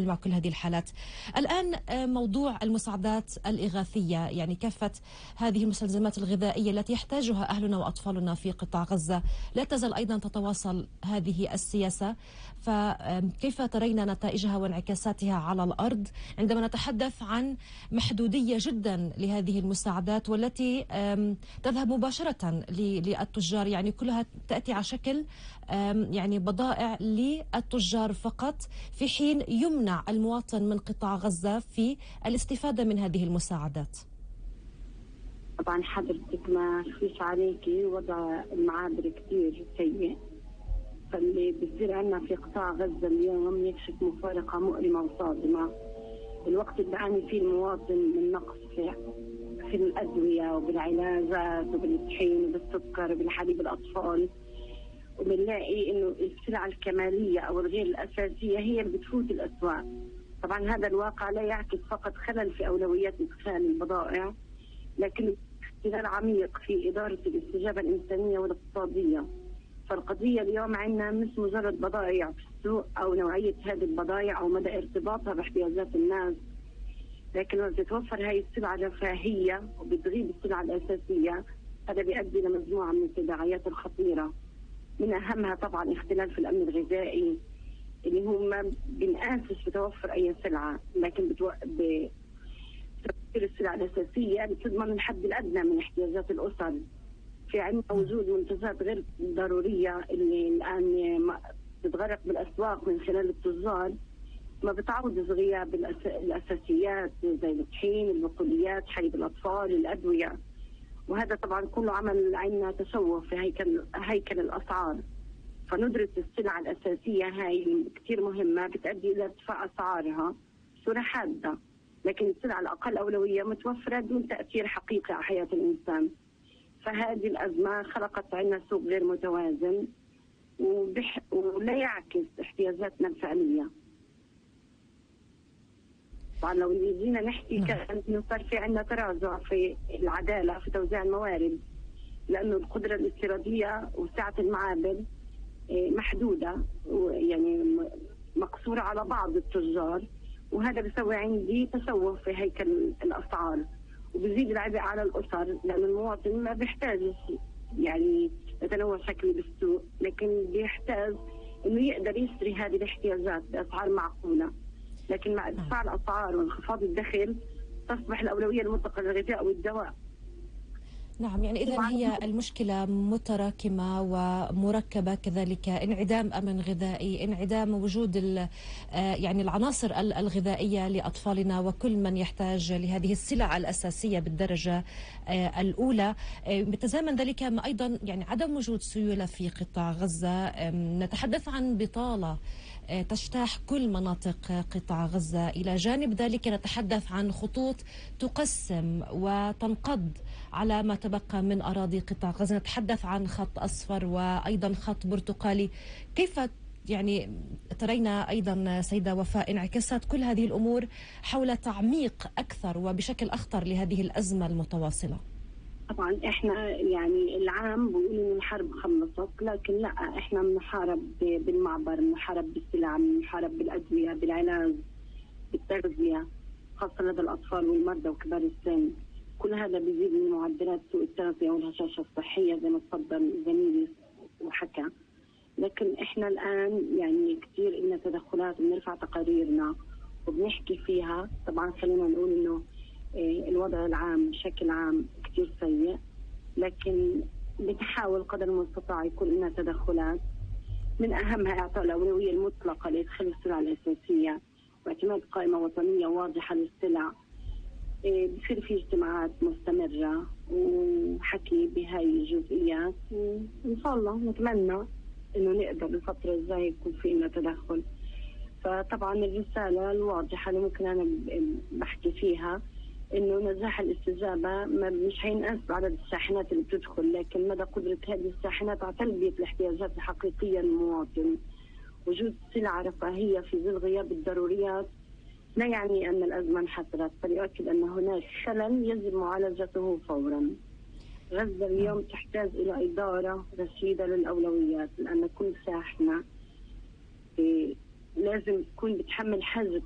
مع كل هذه الحالات. الآن موضوع المساعدات الإغاثية، يعني كافة هذه المستلزمات الغذائية التي يحتاجها أهلنا وأطفالنا في قطاع غزة، لا تزال أيضا تتواصل هذه السياسة، فكيف ترين نتائجها وانعكاساتها على الأرض عندما نتحدث عن محدودية جدا لهذه المساعدات والتي تذهب مباشرة للتجار، يعني كلها تأتي على شكل يعني بضائع للتجار فقط، في حين يمنع المواطن من قطاع غزة في الاستفادة من هذه المساعدات؟ طبعا حضرتك ما فيش عليكي، وضع المعابر كتير سيء، فاللي بصير عنا في قطاع غزة اليوم يكشف مفارقة مؤلمة وصادمة. الوقت اللي بيعاني فيه المواطن من نقص في الأدوية وبالعلاجات وبالطحين وبالسكر وبالحليب الأطفال، وبنلاقي إنه السلع الكمالية أو الغير الأساسية هي اللي بتفوت الأسواق. طبعا هذا الواقع لا يعكس فقط خلل في أولويات إدخال البضائع، لكن اختلال عميق في إدارة الاستجابة الإنسانية والاقتصادية. فالقضية اليوم عندنا مش مجرد بضائع في السوق أو نوعية هذه البضائع أو مدى ارتباطها باحتياجات الناس، لكن لما تتوفر هاي السلعة رفاهية وبتغيب السلعة الأساسية، هذا بيؤدي لمجموعة من التداعيات الخطيرة. من أهمها طبعا اختلال في الأمن الغذائي، اللي هو ما بنقاسش بتوفر أي سلعة، لكن بتوفر السلع الأساسية بتضمن الحد الأدنى من احتياجات الأسر. في عندنا وجود منتجات غير ضرورية اللي الآن بتتغرق بالأسواق من خلال التجار، ما بتعوض غياب الأساسيات زي الطحين، البقوليات، حليب الأطفال، الأدوية. وهذا طبعا كله عمل عنا تشوه في هيكل الأسعار. فندرة السلع الأساسية هاي كتير مهمة، بتؤدي إلى ارتفاع أسعارها بصورة حادة، لكن السلع الأقل أولوية متوفرة دون تأثير حقيقي على حياة الإنسان. فهذه الأزمة خلقت عنا سوق غير متوازن ولا يعكس احتياجاتنا الفعلية. طبعا لو جينا نحكي كأنه صار في عنا تراجع في العدالة في توزيع الموارد، لأنه القدرة الاستيرادية وسعة المعابر محدودة، ويعني مقصورة على بعض التجار، وهذا بيسوي عندي تشوه في هيكل الأسعار، وبزيد العبء على الأسر، لأن المواطن ما بيحتاج يعني يتنوع شكلي بالسوق، لكن بيحتاج إنه يقدر يشتري هذه الاحتياجات بأسعار معقولة. لكن مع ارتفاع الأسعار وانخفاض الدخل تصبح الأولوية المطلقة للغذاء والدواء. نعم، يعني إذن هي المشكلة متراكمة ومركبة كذلك، انعدام أمن غذائي، انعدام وجود يعني العناصر الغذائية لأطفالنا وكل من يحتاج لهذه السلع الأساسية بالدرجة الأولى. بتزامن ذلك مع أيضا يعني عدم وجود سيولة في قطاع غزة. نتحدث عن بطالة تجتاح كل مناطق قطاع غزة. إلى جانب ذلك نتحدث عن خطوط تقسم وتنقض على ما تبقى من أراضي قطاع غزة. نتحدث عن خط أصفر وأيضا خط برتقالي. كيف يعني ترين أيضا سيدة وفاء انعكاسات كل هذه الأمور حول تعميق أكثر وبشكل أخطر لهذه الأزمة المتواصلة؟ طبعا احنا يعني العام بيقول ان الحرب خلصت، لكن لا، احنا بنحارب بالمعبر، بنحارب بالسلع، بنحارب بالادويه، بالعلاج، بالتغذيه، خاصه لدى الاطفال والمرضى وكبار السن. كل هذا بيزيد من معدلات سوء التغذيه والهشاشه الصحيه زي ما تفضل زميلي وحكى. لكن احنا الان يعني كثير لنا تدخلات، بنرفع تقاريرنا وبنحكي فيها. طبعا خلينا نقول انه الوضع العام بشكل عام كثير سيء، لكن بنحاول قدر المستطاع يكون لنا تدخلات، من أهمها إعطاء الأولوية المطلقة لإدخال السلع الأساسية واعتماد قائمة وطنية واضحة للسلع. بصير في اجتماعات مستمرة وحكي بهاي الجزئيات، وإن شاء الله نتمنى إنه نقدر الفترة الجاية يكون في لنا تدخل. فطبعا الرسالة الواضحة اللي ممكن أنا بحكي فيها إنه نجاح الاستجابة مش هينقاس بعدد الشاحنات اللي بتدخل، لكن مدى قدرة هذه الشاحنات على تلبية الاحتياجات الحقيقية للمواطن. وجود سلع رفاهية في ظل غياب الضروريات لا يعني أن الأزمة انحسرت، بل يؤكد أن هناك خلل يجب معالجته فورا. غزة اليوم تحتاج إلى إدارة رشيدة للأولويات، لأن كل شاحنة لازم تكون بتحمل حاجة